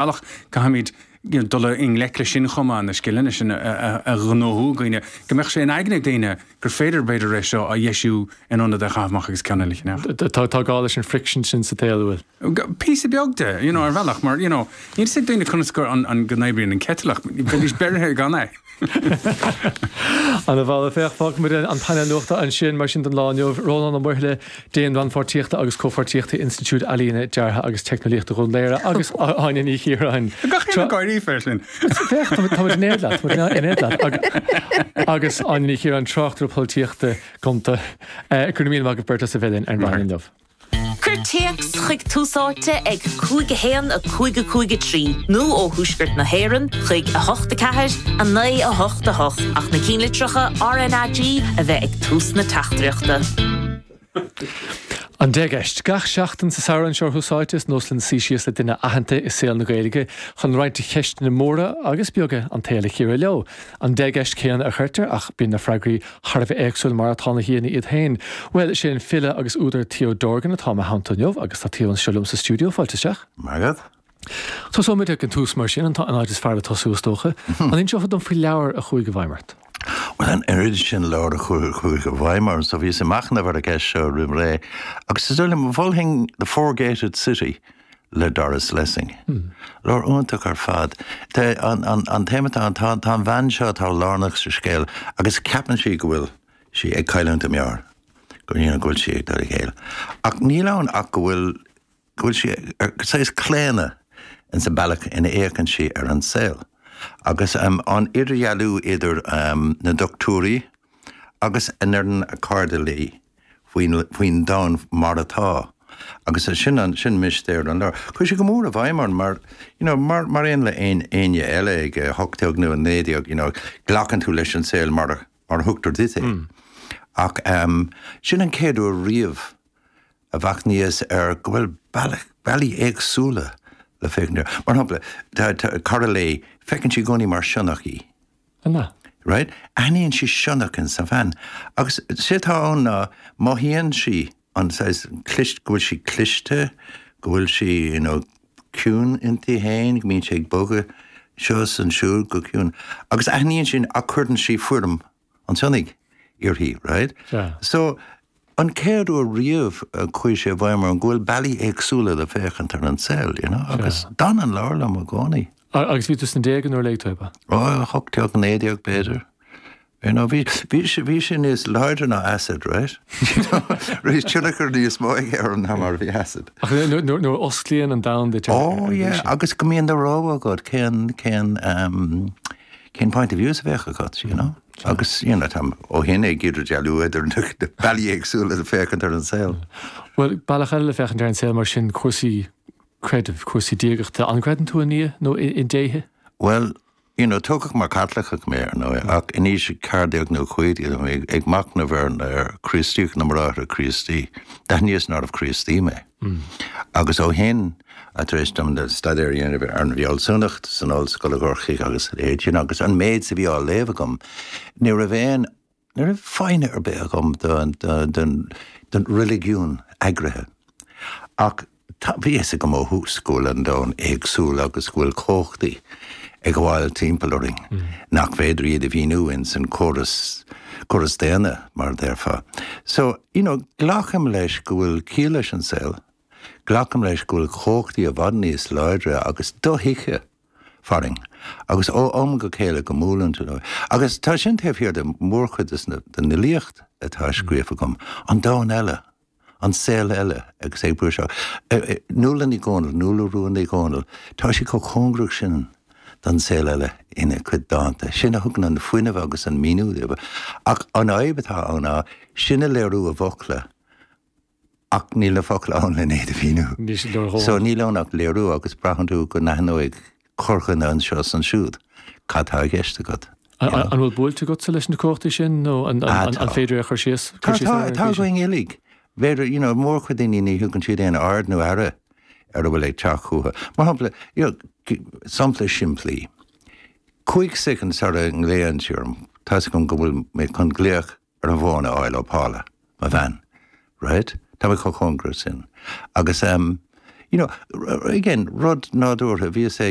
Bealach, caithfimid dul i ngleic leis sin chomh maith, na scileanna sin a ghnóthú againne, go mbeadh sé in aigne ag daoine gur féidir, b'fhéidir, é seo a dheisiú in ionad é a chaitheamh amach agus ceann eile a cheannach. Tá gá leis an friction sin sa tsaol, an bhfuil? Píosa beag de, you know, ar bhealach, mar, you know, níl fhios ag daoine conas go, an, go n-oibríonn an citeal ach bheidís beirithe gan é. Ana mholadh. Féach, fágfaimid an painéal nuachta ansin, mar sin don lá inniu. Rónán Ó Muirthile, Déan Rannpháirtíochta agus Comhpháirtíochta Institiúid Ealaíne, Deartha agus Teicneolaíochta Dhún Laoghaire agus Áine Ní Chiaráin. Gach aon ag gáirí fé sin. Féach, táimid in éad leat, táimid in éad leat. Agus Áine Ní Chiaráin, tráchtaire polaitíochta gonta. Go raibh míle maith agaibh beirt as a bheith linn ar maidin inniu. Cuir téacs chuig Tús Áite ag 5 1 5 5 3 nó ó thuaisceart na hÉireann chuig 8 4 9 8 8 ach na cinnlitreacha RnaG a bheith ag tús na teachtaireachta. An Deicheist. Gach seachtain sa samhradh anseo ar Thús Áite, is nós linn suí síos le duine aitheanta i saol na Gaeilge chun roinnt de cheisteanna móra agus beaga an tsaoil a chíoradh leo. An deicheist chéanna a chuirtear ach bíonn na freagraí thar a bheith éagsúil mar atá na haíonna iad féin. Bhuel, is é an file agus údar Theo Dorgan atá i mo theannta inniu agus tá Theo anseo liom sa stiúideo. Fáilte isteach. Maith agat. Tosóimid ag an tús mar sin, an áit is fearr le tosú is dócha. An inseofá dom faoi leabhar a chuaigh i bhfeidhm ort? Bhuel, an oiread sin leabhar a chuaigh i bhfeidhm orm, so bhíos ag machnamh ar an gceist seo roimh ré agus is dóigh liom, mholfainn The Four-Gated City le Doris Lessing. Leabhar iontach ar fad. Tá an, an, an téama atá ann, tá, tá an bhean seo atá lárnach sa scéal agus ceapann sí go bhfuil sí ag cailliúint a meabhair, go, you know, go bhfuil sí ag dul i gcéill. Ach níl ann ach go bhfuil, go bhfuil sí ar saghas claonadh in sa bealach ina fhéachann sí ar an saol. Agus an idirdhealú idir na dochtúirí agus a ndeireann a cairde léi faoin, faoin domhan mar atá. Agus sin an, sin mistéir an leabhair. Chuaigh sé go mór i bhfeidhm orm mar, you know, mar, mar aon le aon, éinne eile ag 18 nó 19, you know, glacann tú leis an saol mar a, mar a thugtar duit é. Ach sin an chéad uair riamh a mhachnaíos ar go bhfuil bealach, bealaí éagsúla le féachaint air. Mar shampla, tá, tá cara léi, feiceann sí i gcónaí mar sionnach í. An ea? Right? Aithníonn sí sionnach in sa bhean. Agus sé atá ann ná mothaíonn sí an saghas clist, go bhfuil sí cliste, go bhfuil sí, you know, ciúin inti féin, go mbíonn sí ag bogadh seo is ansiúd go ciúin. Agus aithníonn sí ach cuireann sí foirm an tsionnaigh uirthi, right? Sea. So, an chéad uair riamh a chuaigh sé i bhfeidhm orm go bhfuil bealaí éagsúla le féachaint ar an saol, you know, agus d'fhan an leabhar liom i gcónaí. Agus bhí tú sna déaga nuair a léigh tú é, ab ea? Ó, 18, 19 b'fhéidir. You know, bhí, bhí sé, bhí sé níos láidre ná acid, right? You know, bhí tionchar níos mó aige orm ná mar a bhí acid. Ach nuair, nuair a osclaíonn an domhan duit ar, Oh yeah, agus go mbíonn de rogha agat cén, cén, um, cén point of views a bheadh agat, you know? Agus, you know, táim ó shin ag idirdhealú idir na bealaí éagsúla le féachaint ar an saol. Bhuel, bealach eile le féachaint ar an saol mar sin, cúrsaí creidimh, cúrsaí diagachta. An gcreideann tú i nDia nó i ndéithe? Bhuel, you know, tógadh mar Chaitliceach mé, ar ndóigh, ach in aois 14 nó 15 bhí mé ag machnamh ar ar Chríostaíocht na mBráithre Críostaí. D'aithníos nárbh Chríostaí mé. Agus ó shin, tar éis dom staidéar a dhéanamh ar an bhfealsúnacht san ollscoil i gCorcaigh agus a leithéid sin, agus an méid a bhí á léamh agam, ní raibh aon, ní raibh foighne ar bith agam don reiligiún eagraithe. Ach tá, bhí fhios agam ó thús go bhfuil an domhan éagsúil agus go bhfuil cumhachtaí ag gabháil timpeall orainn nach féidir iad a mhíniú ins an córas, córas daonna, mar a déarfá. So, you know, glacaim leis go bhfuil ciall leis an saol, glacaim leis go bhfuil cumhachtaí i bhfad níos láidre agus dothuigthe farainn agus ó am go chéile go mbuaileann tú leo. Agus tá sin taobh thiar de mhórchuid den fhilíocht atá scríofa agam, an domhan eile, an saol eile agus é ag brúiseacht. Nuala Ní Dhomhnaill, Nuala Rua Ní Dhomhnaill, tá sí chomh cóngarach sin don saol eile ina cuid dánta. Sin a thugann an fuinneamh agus an míniú dóibh. Ach an fhadhb atá ann ná sin a léiriú i bhfocla ach níl na focla ann len iad a mhíniú. Níl siad leordhóthanach. So níl ann ach léiriú agus braitheann tú go n-aithneoidh corrdhuine anseo is ansiúd cad tá i gceist agat. An bhfuil buailte agatsa leis na cumhachtaí sin nó an féidir é a chur síos? Tá, tá, tá againn uilig. B'fhéidir, you know, mórchuid daoine ní thugann siad aon aird nó aire ar a bhfuil ag teacht chucu. Mar shampla, you know, sampla simplí. 5 soicind sara nglaonn sí orm, tá's agam go bhfuil mé chun glaoch ar an bhfón a fháil ó Paula, mo bhean, right? Tá mé chomh cóngarach sin. Agus, em, You know, again, rud nádúrtha, bhíos ag.